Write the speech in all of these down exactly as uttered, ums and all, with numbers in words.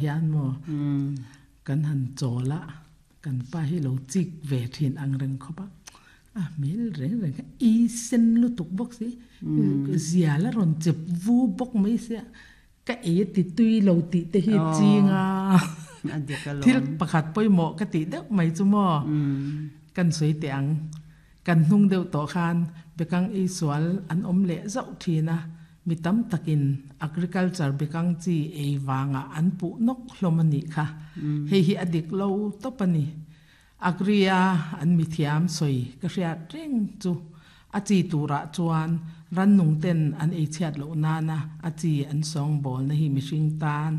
Hian maw kan han chawl a, kan pa hi lo chik ve thin ang reng khawp a, a hmel reng reng kha i sen lutuk bawk si, zial a rawn chep vu bawk mai sia, ka ei a ti tui lo tih te hi ching a, thil pakhat pawimawh ka tih deuh mai chu maw kan sawi teh ang. Kan hnung deuh tawh khan bekang ei sual an awm leh zauh thin a, mi tam takin agriculture bekang chi ei vangah an puh nawk hlawm a nih kha. Hei hi a dik lo tawp a ni. Agri-a an mithiam sawi ka hriat reng chu a chi turah chuan rannung ten an ei chhiat loh nana a chi an sawngbawlna hi mihring tan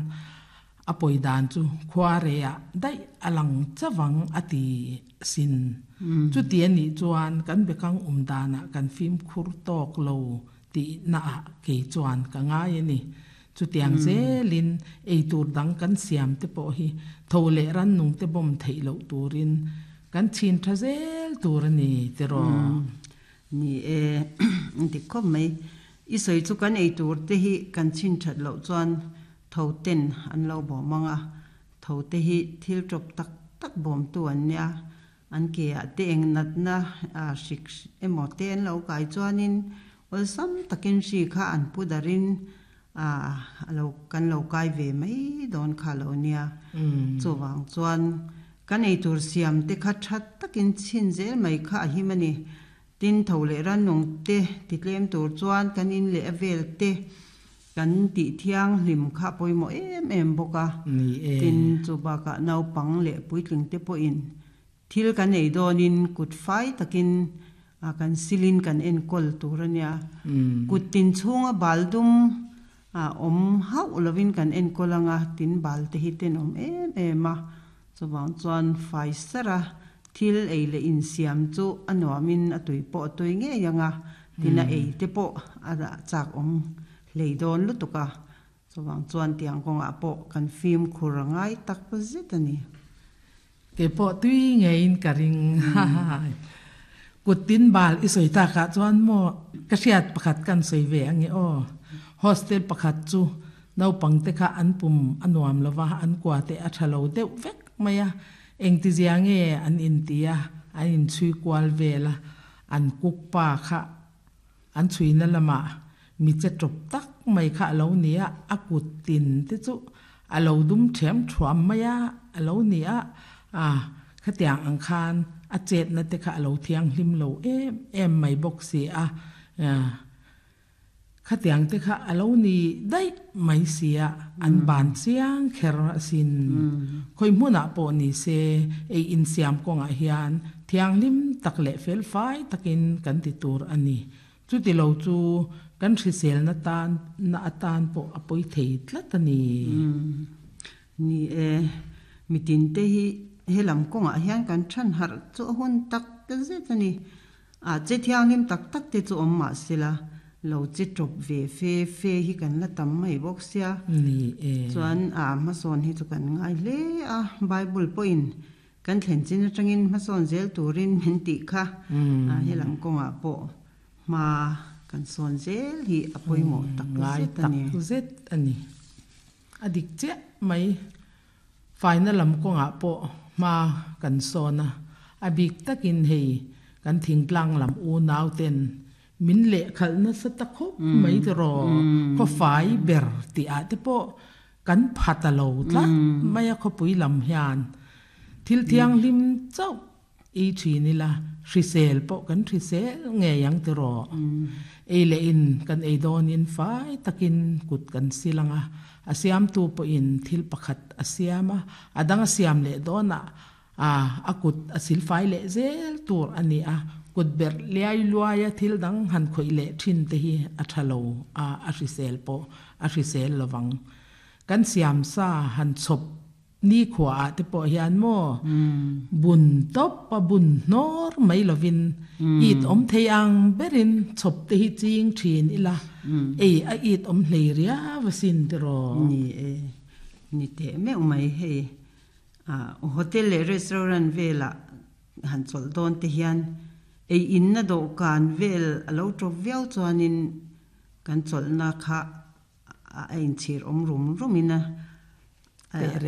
A pawi dan chu khua reiah daih a lang chavang a ti sin. Chuti a nih chuan kan bekang awm danah kan fimkhur tawk lo tihnaah kei chuan ka ngai a ni. Chutiang zelin eitur dang kan siam te pawh hi tho leh rannung te bawm theih loh turin kan chhin tha zel tur a ni tiraw? Ni e, dik khawp mai. I sawi chu kan eitur te hi kan chhin that loh chuan Tho ten an lo bawm ang a, tho te hi thil tawp tak tak bawmtu an nia. An ke ah te eng natna hrik emaw te an lo kai chuanin awlsam takin hri kha an pu darin a lo kan lo kai ve mai dawn kha lo nia. Chuvang chuan kan eitur siam te kha tha takin chhin zel mai kha a him a ni. Tin, tho leh rannung te titlem tur chuan kan in leh a vel te Kan tih thianghlim kha pawimawh em em bawk a, tin chu bakah naupang leh puitling te pawhin thil kan ei dawnin kut fai takin kan silin kan enkawl tur a nia. Kut tin chhunga bal dum awm hauh lovin kan enkawl ang a, tin bal te hi tenawm em em a, chuvang chuan fai sara thil ei leh insiam chu a nuamin a tui pawh a tui ngei ang a, tin a ei te pawh a chak awm Hlei dawn lutuk a, chuvang chuan tiang kawngah pawh kan fimkhur a ngai tak zet a ni. Kei pawh tui ngeiin ka ring. Kut tin bal i sawi takah chuan maw ka hriat pakhat kan sawi ve ange aw. Hostel pakhat chu naupangte kha an pum a nuam lo va, an kua te a tha lo deuh vek mai a. Engtizia nge an inti a, an inchhui kual vel a, an kuk pa kha An chhuina lamah mi che tawp tak mai kha a lo ni a, a kut tin te chu a lo dum ṭhiam ṭhuam mai a, a lo ni a, a khatiang ang khan a chetna te kha a lo thianghlim lo em em mai bawk si a, khatiang te kha a lo ni daih mai si a, an ban chiang kher asin. Khawi hmunah pawh ni se ei insiam kawngah hian Thianghlim tak leh felfai takin kan ti tur a ni. Chuti lo chu kan hriselna tan na atan pawh a pawi thei tlat a ni. Ni e, mitinte hi helam kawngah hian kan than harh chu a hun tak zet a ni. A che thianghlim tak tak te chu awm mah sela, lo che tawp ve fe fe hi kan la tam mai bawk sia. Ni e. Chuan a hmasawn hi chu kan ngai hle a, Bible pawhin Kan thlen chin atangin hmasawn zel turin min tih kha helam kawngah pawh hma kan sawn zel hi a pawimawh tak zet a ni. Ngai tak zet a ni. A dik chiah mai. Faina lam kawngah pawh hma kan sawn a, a bik takin hei kan thingtlang lam unau ten min lehkhalh nasa ta khawp mai tiraw, khawfai ber tih ah te pawh Kan pha ta lo tlat mai a khawpui lam hian thil thianghlim chauh ei thin ila hrisel pawh kan hrisel ngei ang tiraw. Ei leh in kan ei dawnin fai takin kut kan sil ang a, a siamtu pawhin thil pakhat a siam a, a dang a siam leh dawnah a a kut a sil fai leh zel tur a ni a, kut berh liai luaia thil dang han khawih leh thin te hi a tha lo a, a hrisel pawh a hrisel lovang. Kan siam sa han chhawp nikhua ah te pawh hian maw bun tawp a bun hnawr mai lovin it awm thei ang berin chhawp te hi ching thin ila ei a it awm hlei riau asin tiraw. Ni e, ni teh meuh mai hei. Hotel leh restaurant velah han chawlh dawn te hian ei inna dawhkan vel a lo tawp viau chuanin kan chawlhna kha a inchhir awm rum rumin a Teh reng.